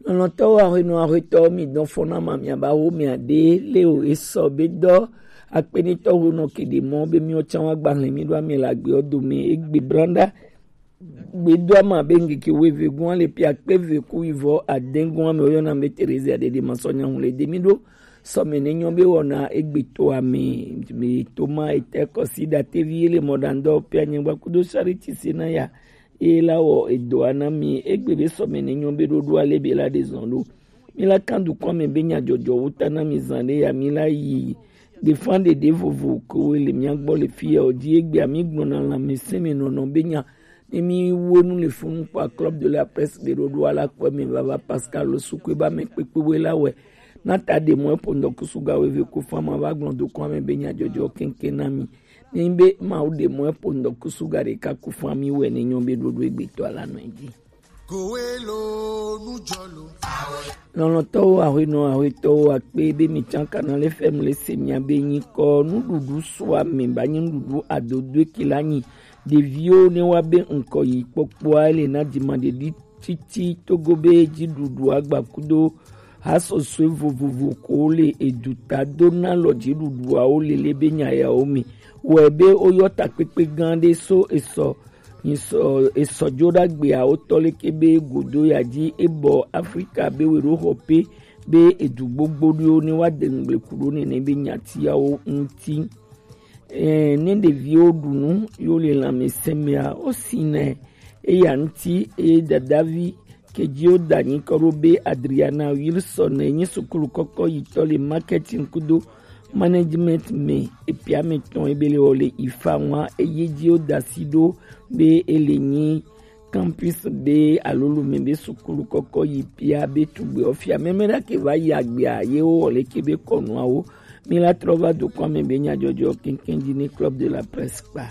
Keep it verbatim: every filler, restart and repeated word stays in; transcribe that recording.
Lɔlɔ̃tɔwo, ahwenɔ, ahwetɔwo, mi dɔn fɔna ma, mi aba wo mi ade le o esɔ be dɔ akpenitɔ ho nɔ kede mɔ be mi o can wa gbahlɛ mi do ame la gbe o do me egbe branda gbe do ama be ngeke wo eve gun ale pia kpe ve ku ivɔ aden gun ame o yɔna be Teresa de de ma sɔ nya hun le de mi do sɔ me ne nyɔ be wɔna egbe to ame me to ma ete kɔsi da tevi ele mɔ da ndɔ pia nyɛ gba kudo Charity se na ya e la wɔ edoa na mi egbe be sɔme ne nyɔ be ɖoɖo ale be la de zɔn ɖo. Mi la kan dukɔ me be nya jɔjɔ wo ta na mi zan ɖe ya mi la yi gbefan ɖeɖe vovo ko le mia gbɔ le fi ya o ji egbe ami gbɔna la mi se me nɔnɔ be nya ne mi wo nu le funu kpa Club de la Presse be ɖoɖo ala kpɔ me vava Pascal Sukue ba me kpekpe we la wɛ na ta de mɔ epo ndɔkusu ga we ve ko fama va gblɔ dukɔ me be nya jɔjɔ kenken na mi. Ni be Mawu ɖe mɔ epo ŋdɔkusu ga ɖeka ku fami wɛ ne nyɔ be ɖoɖo egbetɔ la nɔ edzi. Lɔlɔ̃tɔwo, ahwenɔ, ahwetɔwo, akpe be mi can Canal F M le se mia be nyikɔ nuɖuɖu sua me ba nyi nuɖuɖu adodoe ke la nyi ɖeviwo ne wa be ŋkɔ yi kpɔkpɔa le na dzimaɖeɖi titi togo be dziɖuɖu agba kudo hasɔsɔe vovovo ko le eduta do na lɔ dziɖuɖuawo lele be nya yawo me wɔ be woyɔ takpekpe gã ɖe so esɔ nyisɔ esɔjoɖagbeawo tɔ leke be godo ya dzi ebɔ Afrika be we ɖo xɔ pe be edu gbogbo ɖewo ne wa de ŋgble ku ɖo nene be nyatiawo ŋuti. Eh, ne ɖeviwo ɖu nu yo le lãmesẽ mea, wosinɛ eya ŋuti eye dadavi kedziwo da nyikɔ ɖo be Adriana Wilson ne nyi sukulu kɔkɔ yitɔ le marketing kudo management me epia me tɔn ebe le wɔ le ifa ŋua eye dziwo da si ɖo be ele nyi campus be alo lume be sukulu kɔkɔ yi pia be tugbe ofia mɛmɛ ɖa ke va yi agbea ye wo wɔ le ke be kɔnuawo mi la trɔ va dukɔ me be nyadzɔdzɔ keŋkeŋ dzi ne Club de la Presse kpa.